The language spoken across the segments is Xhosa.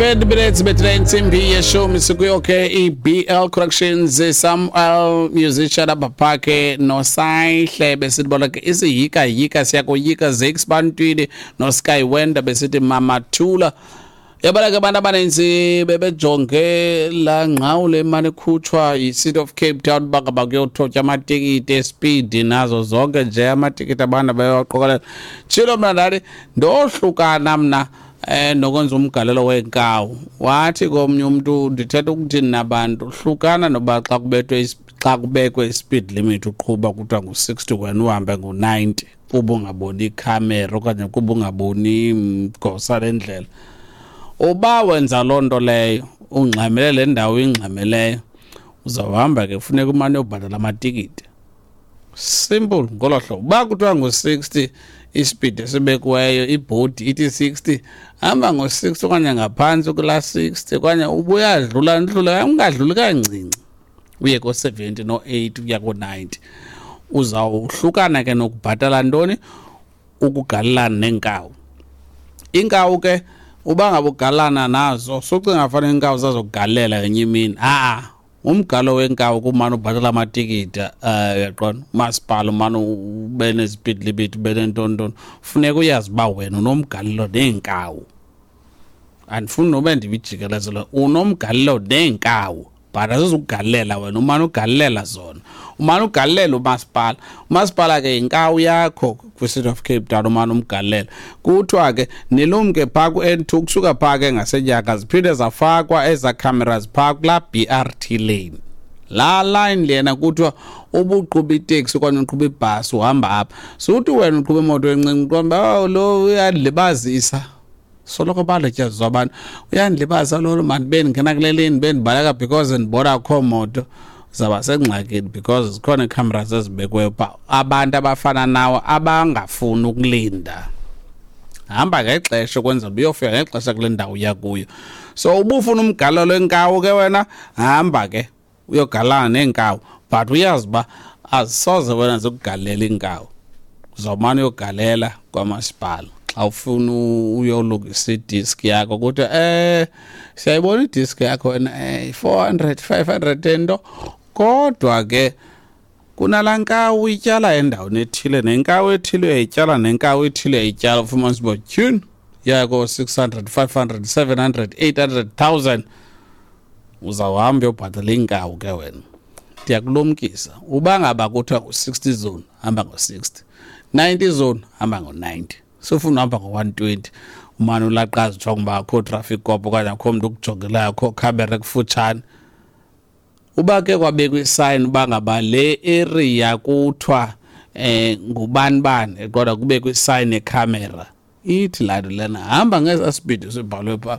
20 minutes between intsimbi yeshumi. Sikuyo ke i-BL Corrections, Samuel musician apha phakhe noSayihle, besithi bona ke isiyika yika siyakoyika Zakes Bantwini noSky Wender, besithi Mamathula. Yabona ke, abantu abaninzi bebejonge laa ngqawule emane ikhutshwa yi-City of Cape Town uba ngaba kuyothotya amatikiti espeed nazo zonke nje amatikiti abantu bayawaqokelela. Tshilo mna, ndathi ndohlukana mna nokwenza umgalelo weenkawu. Wathi komnye umntu, ndithetha ukuthini nabantu, hlukana noba xa kubethwe xa kubekwe i-speed limit, uqhuba kuthiwa ngu-60, wena uhambe ngu-90 kuba ungaboni ikhamera okanye kuba ungaboni gosa lendlela. Uba wenza loo nto leyo, ungxamele le ndawo ingxameleyo, uzawuhamba ke funeka umane uyobhatala amatikiti. Simple ngolo hlobo. Uba kuthiwa ngu-60 ispeed esibekiweyo, ibhodi ithi 60, hamba ngo-60 okanye ngaphantsi kulaa 60, okanye ubuyadlula ndlula, ungadluli kancinci uye ko-70 no-80 ukuya ko-90. Uzawuhlukana ke nokubhatala ntoni, ukugalelana neenkawu. Iinkawu ke, uba ngaba ugalana nazo, sucinga fanele iinkawu zazokugalela ngenye imini. Ha-a, umgalo wenkawu kumane ubhatala amatikiti. Uyaqonda, umasipala umane ube ne-speed limit, ube nentontoni, funeka uyazi uba wena unomgalelo neenkawu. Andifuni nobe ndibijikelezelo, unomgalelo neenkawu, but azizukugalela wena, umane ugalela zona, umane ugalela umasipala. Umasipala ke yinkawu yakho kwi-City of Cape Town, umane umgalela. Kuthiwa ke nilumke phaa ku-N2, kusuka phaa ke ngasenyaka ziphinde zafakwa ezaa cameras phaa kulaa BRT lane, laa line lena. Kuthiwa ubuqhuba iteksi okanye uqhuba ibhasi uhamba apha, suthi wena uqhuba imoto encinci, uqonda uba, "Oh, lo uyandilibazisa." Soloko baletyaziswa abantu, uyandilibaza lolo, mandibe ndingena kule lane bendibaleka because ndibona akho moto. Zaba sengxakini because zikhona ii-cameras ezibekiweyo phaa. Abantu abafana nawe abangafuni ukulinda, hamba ngexesha ukwenzela uba uyofika ngexesha kule ndawo uya kuyo. So ubufuna umgalelo wenkawu ke wena, hamba ke uyogalana neenkawu, but uyazi uba azisoze wena zikugalela iinkawu, uzawumane uyogalela kwamasipala. Xa ufuna uyolungisa idiski yakho, kuthiwa siyayibona idiski yakho wena, 400 500 ento, kodwa ke kunalaa nkawu ityala endaweni ethile, nenkawu ethile uyayityala, nenkawu ethile uyayityala, ufumanisa uba tyhini, yako 600 500 700 800 1000. Uzawuhamba uyobhatala iinkawu ke wena. Ndiyakulumkisa, uba ngaba kuthiwa ngu-60 zone, hamba ngo-60, 90 zone, hamba ngo-90. Sufuna uhamba ngo-120, umane ulaqaza ujonga uba akho traffic cop okanye akho mntu ukujongelayo, akho khamera ekufutshane. Uba ke kwabekwa isayini uba ngaba le area kuthiwa ngubani bani, kodwa kubekwe isayini yekhamera, ithi laa nto lena hamba ngeza speed sibhalwe phaa.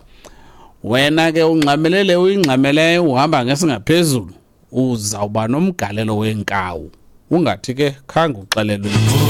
Wena ke ungxamelele, uyingxameleyo, uhamba ngesingaphezulu, uzawuba nomgalelo weenkawu. Ungathi ke khange uxelelwe.